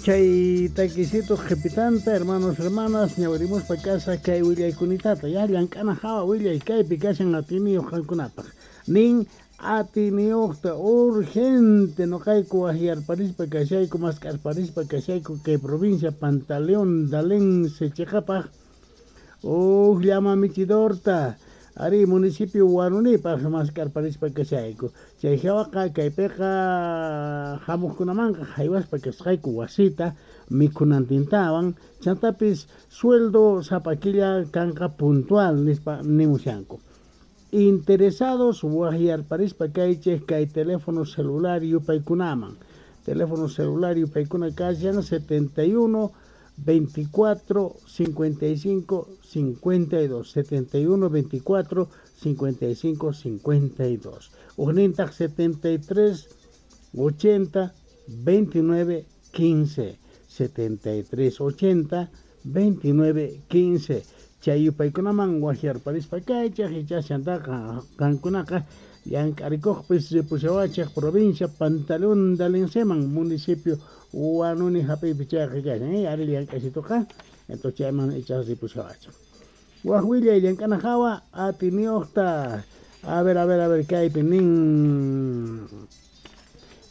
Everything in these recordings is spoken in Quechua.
Chay takisito qhipitanta, hermanos, hermanas, ñawirimuspa kasaq kay willaykunitata, ya llank'ana hawa willay kaypi kashan atiniyuq qankunapaq. Nin atiniyuqta urgente noqayku waqyarparispa kashayku, mask'arparispa kashayku kay provincia Pantaleón Dalense chiqapaq huk llama michidorta ari municipio Huanunipaq mask'arparispa kashayku. Chay hawaqa kaypiqa hamuqkunamanqa haywaspa kasqayku wasita mikhunantintawan, chantapis sueldo sapa killa kanqa puntual nispa nimushanku. Interesados waqyarparispa kaychik kay teléfono celular yupaykunaman. Teléfono celular yupaykuna kashan 71 24 55 52, 71 24 55 52. Ujnintaq 73 80 29 15, 73 80 29 15. Chay yupaykunaman waqyarparispa kaychik ichashantaqa qankunaqa llank'arikuqpis ripushawachik provincia Pantaleón Dalenseman municipio Huanuni hap'iypi chayqa kashan, ari llank'asituqa, entonces chayman ichas ripushawachik. Waq willay llank'ana hawa atiniyuqta, a ver, a ver, a ver, kaypi nin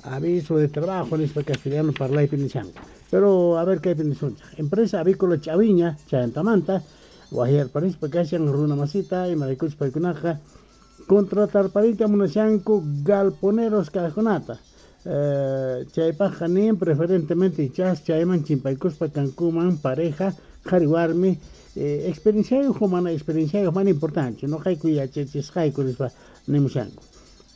aviso de trabajo nispa castellano parlaypi nishanku. Pero a ver kaypi nisunchik. Empresa avícola Chaviña chayantamanta waqyarparispa kashan runa masita imaraykuchus paykunaqa contratarparita munashanku galponeros kaqkunata. Chaypaqqa nin preferentemente ichas chayman chimpaykuspa kankuman pareja qhari warmi, experienciayuq o mana experienciayuq mana importante, noqayku yachachisqayku nispa nimushanku.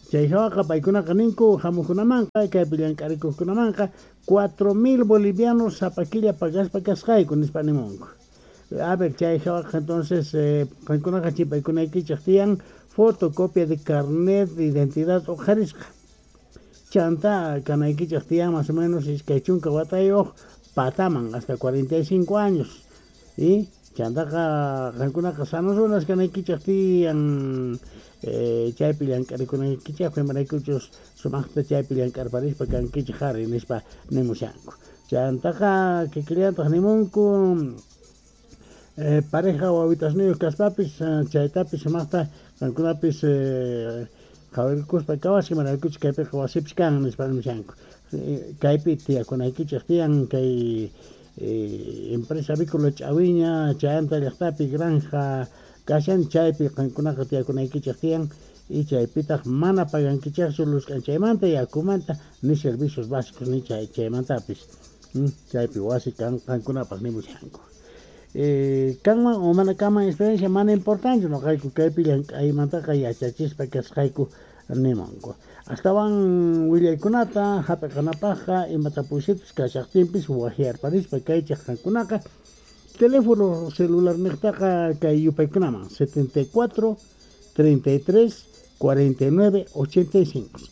Chay hawaqa paykunaqa ninku hamuqkunamanqa kaypi llank'arikuqkunamanqa 4000 bolivianos sapa killa pagaspa kasqayku nispa nimunku. A ver, chay hawaqa entonces qankunaqa chimpaykunaykichik tiyan fotocopia de carnet de identidad uqharisqa. Chanta kanaykichik tiyan más o menos 20 watayuq pataman hasta 45 años. Y chantaqa qankunaqa sanos runas kanaykichik tiyan chaypi llank'arikunaykichik imaraykuchus sumaqta chaypi llank'arparispa kankichik ari nispa nimushanku. Chantaqa kikillantaq nimunku pareja wawitasniyuq kaspapis chaytapis sumaqta qankunapis qhawarikuspa kawasqa imaraykuchus kaypiqa wasipis kan nispa nimushanku. Kaypi tiyakunaykichik tiyan kay empresa avícola Ch'awiña chayanta llaqtapi granja kashan chaypi qankunaqa tiyakunaykichik tiyan y chaypitaq mana pagankichikchu luz k'anchaymanta yakumanta ni servicios básicos ni chaymantapis. Chaypi wasi kan qankunapaq nimushanku. Kanman o mana kanman experiencia mana importante noqayku kaypi llank'aymantaqa yachachispa kasqayku nimunku. Astawan willaykunata hap'iqanapaqqa imatapuysitus kashaqtinpis waqyarparispa kaychik qankunaqa teléfono celular niqtaqa kay yupaykunaman 74 33 49 85,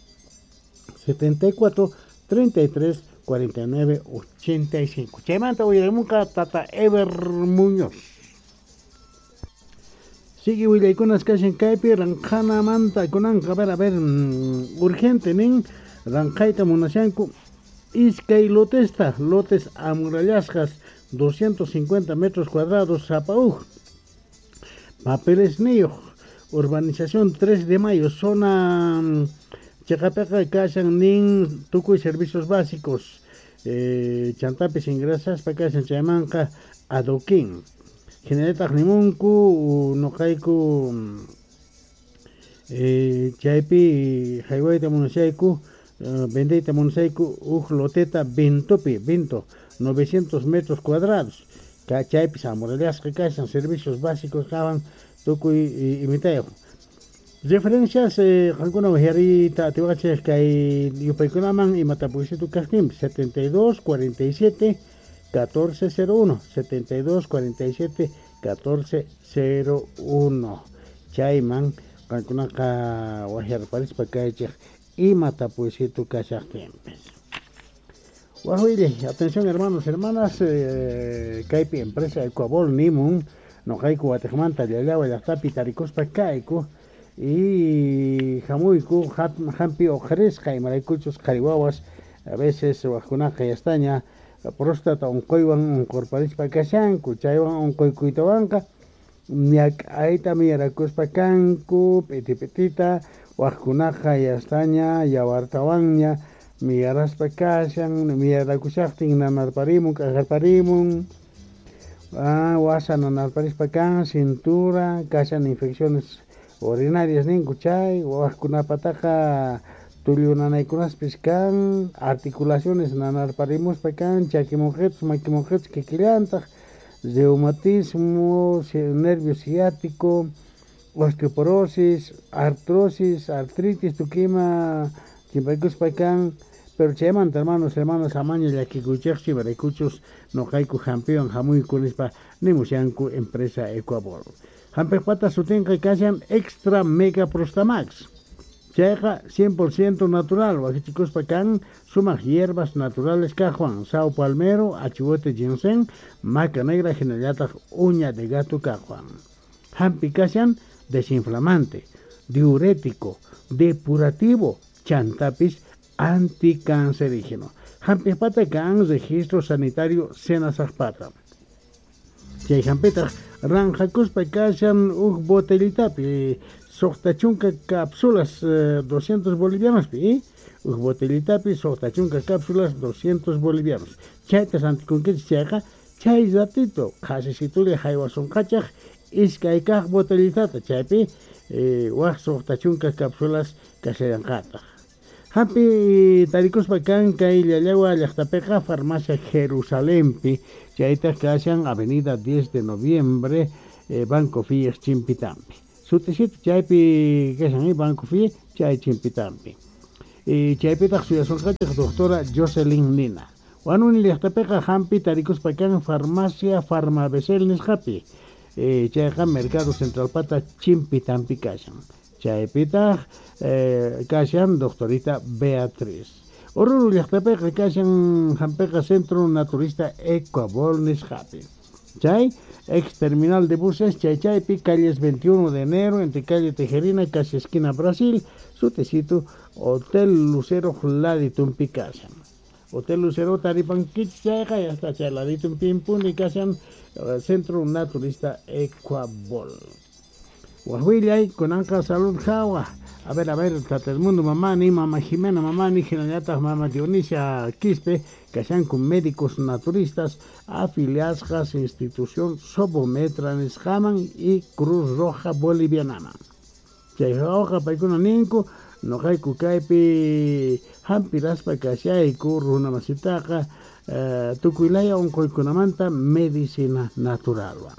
74 33 49 85. Chaymanta uyarimunqa Tata Ever Muñoz. Sigue willaykunas kashan kaypi ranqhanamanta kunanqa, a ver, urgente nin ranqhayta munashanku iskay lotesta, lotes amurallasqas 250 metros cuadrados sapa uj. Papeles niyuq, urbanización 3 de mayo, zona chiqapiqa kashan nin tukuy servicios básicos, chantapis ingresaspa kashan chaymanqa adoquín. Hinallataq nimunku noqayku chaypi haywayta munashayku, vendeyta munashayku uj loteta Vintopi, Vinto, 900 metros cuadrados. Chaypis amurallasqa kashan servicios básicos kawan tukuy imitayuq. Referencias qankuna waqyariyta atiwachik kay yupaykunaman imatapuysitu kaqtinpis 72 47 1401, 72 47 1401. Chayman qankunaqa waqyarparispa kaychik imatapuysitu kashaqtinpis. Waqwillay, atención hermanos, hermanas, kaypi empresa Ecuabol nimun noqayku watiqmanta llallawa llaqtapi tarikuspa kayku y hamuyku hampi uqharisqa imaraykuchus qhari wawas a veces waqkunaqa yastaña Próstata unquywan unqurparispa kashanku, chaywan unquykuytawanqa ñak'ayta miyarakuspa kanku, p'iti p'itita, waqkunaqa yastaña yawartawanña miyaraspa kashan, miyarakushaqtin nanarparimun, k'ajarparimun, wasa nanarparispa kan, cintura, kashan infecciones urinarias ninku chay, waqkunapataqa tullu nanaykunaspis kan, articulaciones nanarparimuspa kan, chakimunqichus, makimunqichus kikillantaq, reumatismo, nervio ciático, osteoporosis, artrosis, artritis, tukima chimpaykuspa kan. Pero chaymanta, hermanos, hermanas, amaña llakikuychikchu, imaraykuchus noqayku hampiwan hamuyku nispa nimushanku empresa Ecuabol. Hampiqpata sutinqa kashan Extra Mega Prostamax. Chayqa 100% natural, wakichikuspa kan sumaq hierbas naturales kaqwan, sao palmero, achihuete ginseng, maca negra, hinallataq uña de gato kaqwan. Hampi kashan desinflamante, diurético, depurativo, chantapis anticancerígeno. Hampiqpata kan registro sanitario Senasaqpata. Chay hampitaq ranjakuspa kashan huk botellitapi, suqta chunka cápsulas 200 bolivianos pi, huk botellitapi suqta chunka cápsulas 200 bolivianos. Chayta rantikunkichik chayqa chay ratito qhasisitulla haywasunqachaq iskay kaq botellitata, chaypi waq suqta chunka cápsulas kashallanqataq. Hampi tarikuspa kan kay Llallagua llaqtapiqa farmacia Jerusalempi, chaytaq kashan avenida 10 de noviembre, Banco Fies Chimpitampi. Sutisito chaypi kashan Banco Fies chay Chimpitampi. Chaypitaq suyasunqachaq doctora Jocelyn Nina. Wanuni llaqtapiqa hampi tarikuspa kan farmacia Farmabesel nisqapi. Chayqa Mercado Central pata Chimpitampi kashan. Chaypitaq kashan doctorita Beatriz. Oruro llaqtapiqa kashan hampiqa Centro Naturista Ecuabol nisqapi. Chay ex terminal de buses chay chaypi calles 21 de enero entre calle Tejerina casi esquina Brasil, sutisito Hotel Lucero laditumpi kashan. Hotel Lucero taripankichik chayqa ya está chay laditumpimpuni kashan Centro Naturista Ecuabol. Wajwillay kunanqa salud hawa. A ver, Tata Edmundo Mamani, Mama Jimena Mamani, hinallataq Mama Dionisia Quispe, kashanku médicos naturistas afiliasqas institución Sobometra nisqaman y Cruz Roja Bolivianaman. Chay hawqa paykuna ninku, noqayku kaypi hampiraspa kashayku runamasitaqa tukuylaya unquykunamanta medicina naturalwan.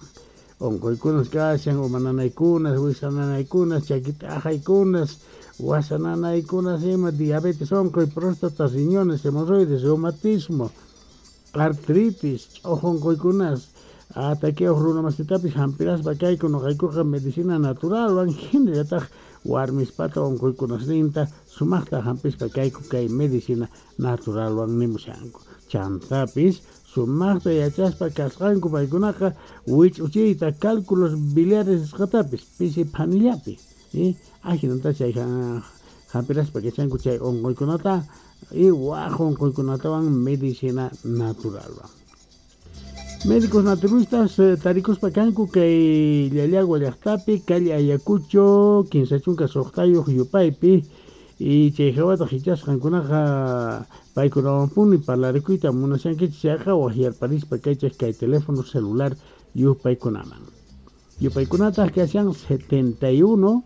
Unquykunas kashan, umananaykunas, wisananaykunas, chakit'aqaykunas, wasananaykunas ima, diabetes unquy, próstata, riñones, hemorroides, reumatismo, artritis, ch'uq unquykunas, ataqueos runamasitapis hampiraspa kayku noqaykuqa medicina naturalwan, hinallataq warmispata unquykunasninta sumaqta hampispa kayku kay medicina naturalwan nimushanku. Chantapis sumaqta yachaspa kasqanku paykunaqa wich'uchiyta cálculos biliares nisqatapis pisi phanillapi, ajinata chay hampiraspa kachanku chay unquykunata y waq unquykunatawan medicina naturalwan. Médicos naturistas tarikuspa kanku kay Llallagua llaqtapi, calle Ayacucho, 15 suqtayuq yupaypi, y chay hawataq hichasqankunaqa paykunawanpuni parlarikuyta munashankichik chayqa waqyarparispa kaychik kay teléfono celular yupaykunaman. Yupaykunataq kashan 71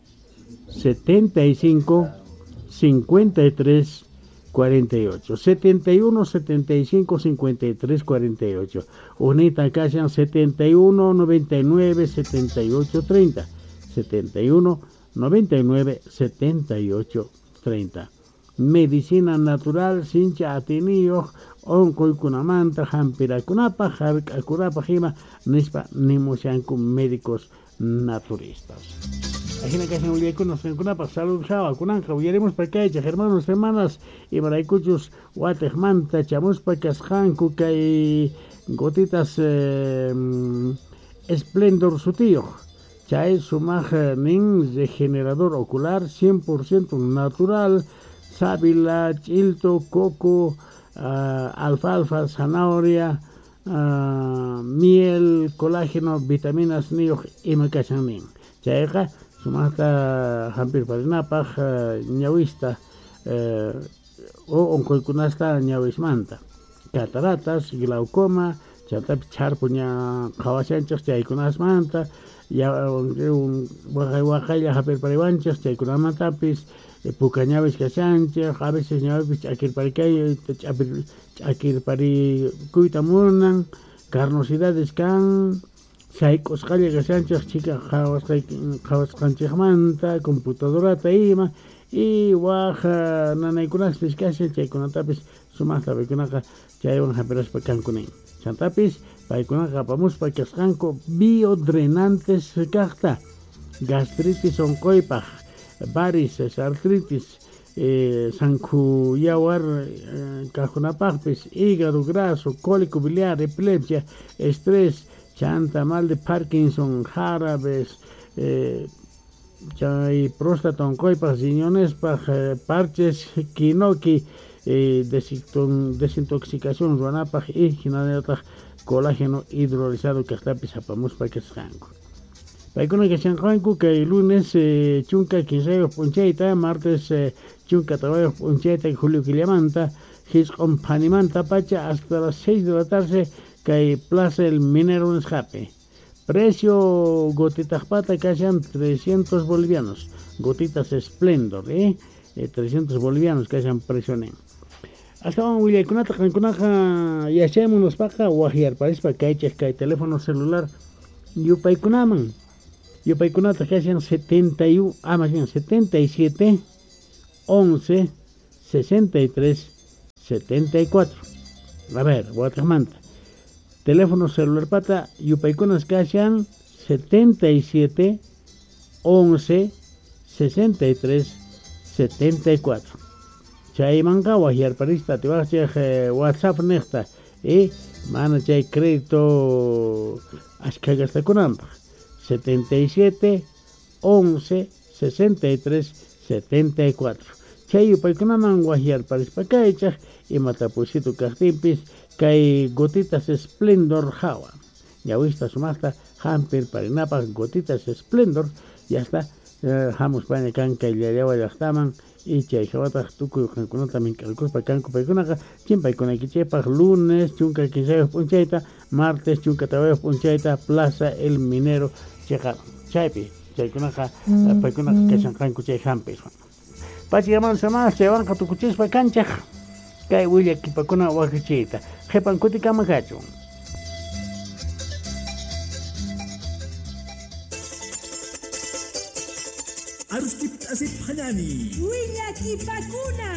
75 53 48, 71 75 53 48. Unita kashan 71 99 78 30, 71 99 78 30. Medicina natural sincha atiniyuq unquykunamanta hampirakunapaq hark'akunapaq ima nispa nimushanku médicos naturistas. Ajina kashan willaykunas qankunapaq salud hawa kunanqa uyarimuspa kaychik hermanos, hermanas, imaraykuchus watiqmanta chamuspa kasqanku kay gotitas Esplendor sutiyuq. Chay sumaq nin regenerador ocular 100% natural, sábila, chilto, coco, alfalfa, zanahoria, miel, colágeno, vitaminas niyuq ima kashan nin. Chayqa sumaqta hampirparinapaq ñawista o unquykunasta ñawismanta. Cataratas, glaucoma, chantapis chharpu ña qhawashanchik chaykunasmanta, waqay waqaylla hapirpariwanchik chaykunamantapis puka ñawis kashanchik, a veces ñawipis ch'akirparikuyta munan, carnosidades kan, sayk'usqalla kashanchik chhika qhawasqanchikmanta, computadorata ima, y waq nanaykunaspis kashan chaykunatapis sumaqta paykunaqa chaywan hampiraspa kanku nin. Chantapis paykunaqa apamuspa kasqanku biodrenantes kaqta, gastritis unquypaq, varices, artritis, sankhu yawar kaqkunapaqpis, hígado graso, cólico biliar, epilepsia, estrés, chanta mal de Parkinson, jarabes, chay próstata unquypaq, riñonespaq, parches, kinoki, desintoxicación ruwanapaq y hinallataq colágeno hidrolizado kaqtapis apamuspa kasqanku. Paykuna kashanqanku kay lunes chunka kinsayuq p'unchayta, martes chunka tawayuq p'unchayta julio killamanta, hisq'un phanimanta pacha hasta las 6 de la tarde kay Plaza El Minero nisqapi. Precio gotitaqpata kashan 300 bolivianos, gotitas Splendor, 300 bolivianos kashan precio nin. Astawan willaykunata qankunaqa yachaymun nispaqa waqyarparispa kaychik kay teléfono celular yupaykunaman. Yupaykunata kashan 71, más bien 77 11 63 74. A ver, wataqmanta. Teléfono celular pata yupaykunas kashan 77 11 63 74. Chaymanqa waqyarparista atiwaqchik WhatsApp niqta y mana chay crédito ashkha gastakunanpaq. 77 11 63 74. Chay yupaykunaman waqyarparispa kaychaq imata pusitu kaqtinpis kay gotitas Splendor hawa. Ñawista sumaqta hampirparinapaq gotitas Splendor, ya está. Hamuspaña kan kay Llallawa llaqtaman y chay hawataq tukuy qankunata mink'arkuspa kanku paykunaqa chimpaykunaykichikpaq lunes chunka kinsayuq p'unchayta, martes chunka tawayuq p'unchayta Plaza El Minero chiqa chaypi chaykunaqa paykunaqa kashanqanku chay hampiswan. Pachikamanta chaywanqa tukuchispa kanchaq kay willakipakuna wakichiyta. Qhipan kutikama kachun. Arustip asip hanani. Willakipakuna.